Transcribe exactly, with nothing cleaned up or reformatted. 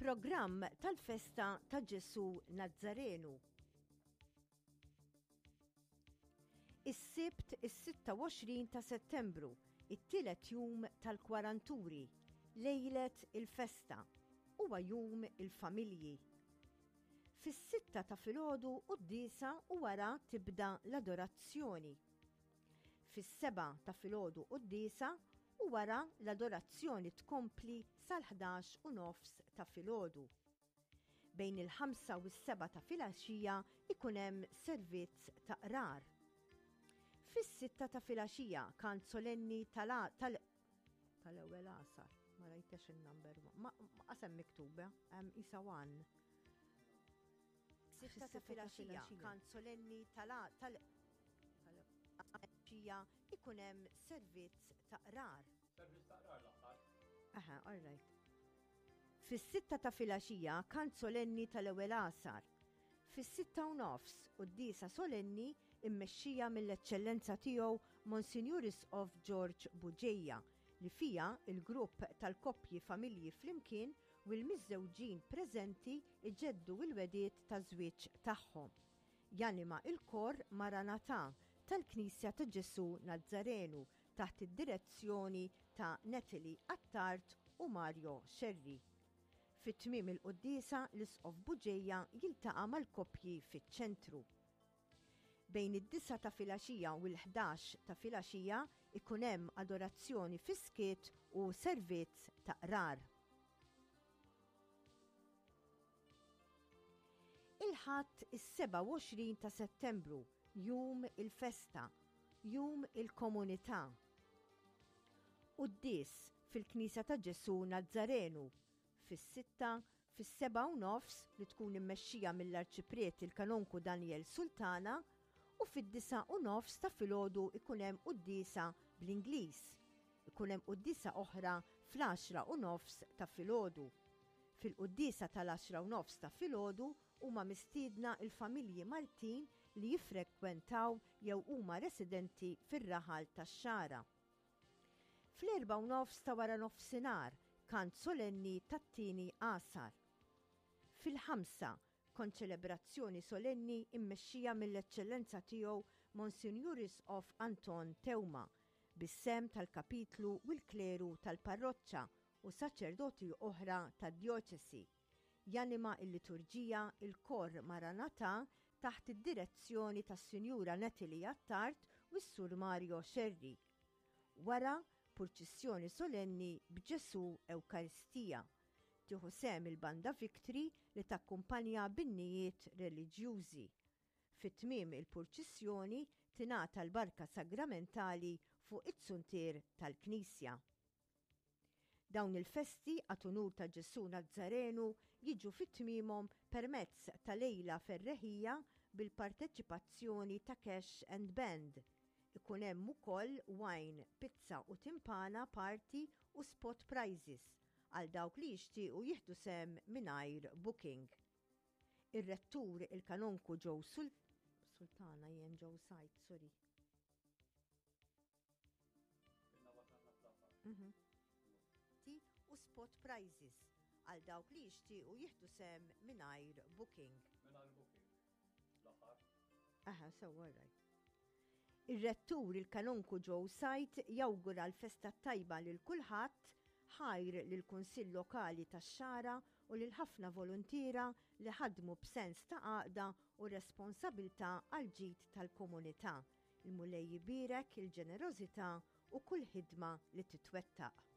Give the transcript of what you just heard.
Il-programm tal-festa ta' Ġesu Nazzarenu. Is-Sibt is-sitta u għoxrin ta' Settembru, it-tielet jum tal-Kwaranturi, lejlet il-festa, huwa jum il-familji. Fis-sitta ta' filgħodu quddiesa u wara tibda l-adorazzjoni. Fis-sebgħa ta' filgħodu quddiesa u wara l-adorazzjoni tkompli sal-ħdax u nofs ta' filgħodu. Bejn il-ħamsa u s-sebgħa ta' filgħaxija ikun hemm servizz ta' qrar. Fis-sitta ta' filgħaxija kant solenni tal- tal- tal-ewwel għasar, ma rajtex il-number, ma qasem miktuba, hemm isa one. Sitta ta' filgħaxija kant solenni tal- tal- tal-għaxija ikun hemm servizz ta' qrar. Servizz ta' qrar l-aħħar. Aha, all right. Fis-sitta ta' filgħaxija kant solenni tal-ewwel għasar. Fis-sitta u nofs quddiesa solenni immexxija mill-Eċċellenza tiegħu Monsinjur Isqof George Bugeja, li fija il-grupp tal-koppji familji flimkien u l-miżżewġin preżenti iġeddu l-wediet ta' żwieġ tagħhom. Janima il-kor Maranatha tal-Knisja ta' Ġesu Nazzarenu taħt id-direzzjoni ta' Natalie Attard u Mario Scerri. Fit-tmiem il-quddiesa l-Isqof Bugeja jiltaqa' mal-koppji fiċ-ċentru. Bejn id-disgħa ta' filgħaxija u l-ħdax ta' filgħaxija ikun hemm adorazzjoni fiskiet u servizz ta' qrar. Il-Ħadd is-sebgħa u għoxrin ta' Settembru, jum il-festa, jum il-komunità. Quddies fil-Knisja ta' Ġesu Nazzarenu fis-sitta, fis-sebgħa u nofs li tkun immexxija mill-Arċipriet il-Kanonku Daniel Sultana u fid-disgħa u nofs ta' filgħodu ikun hemm quddiesa bl-Ingliż. Ikun hemm quddiesa oħra fl-għaxra u nofs ta' filgħodu. Fil-quddiesa tal-għaxra u nofs ta' filgħodu huma mistiedna il-familji Maltin li jiffrekwentaw jew huma residenti fir-raħal tax-Xagħra. Fl-erba' u nofs ta' wara nofsinhar kant solenni tat-tieni għasar. Fil-ħamsa konċelebrazzjoni solenni immexxija mill-Eċċellenza tiegħu Monsinjur Isqof Anton Teuma bis-sem tal-kapitlu u l-kleru tal-parroċċa u saċerdoti oħra tad-djoċesi. Janima il-liturġija il-kor Maranatha taħt id-direzzjoni tas-Sinjura Natalie Attard u s-Sur Mario Scerri. Wara purċissjoni solenni b'Ġesu Ewkaristija. Tieħu sehem il-Banda Victory li takkumpanja b'innijiet reliġjużi. Fit-tmiem il-purċissjoni tingħata l-barka sagramentali fuq it-suntier tal-Knisja. Dawn il-festi għat unur ta' Ġesu Nazzarenu jiġu fit-tmiemhom permezz ta' lejla ferreħija bil-parteċipazzjoni ta' Cash and Band. Ikun hemm ukoll wine, pizza u timpana party u spot prizes għal dawk li jixtiequ jieħdu sehem mingħajr booking. Ir-rettur il-kanonku Joe Sul-, Sultana jien Joe Said, sorry. Mhm. U spot prizes għal dawk li jixtiequ jieħdu sehem mingħajr booking. Mingħajr booking. L-aħħar. Aha, sewwa, all right. Ir-rettur il-kanonku Joe Said jawgura l-festa tajba lil kulħadd, ħajr lil Kunsill Lokali tax-Xagħra u lil ħafna volontiera li ħadmu b'sens ta' għaqda u responsabilità għal ġid tal-komunità. Il-Mulej jbierek il-ġenerożità u kull ħidma li titwettaq.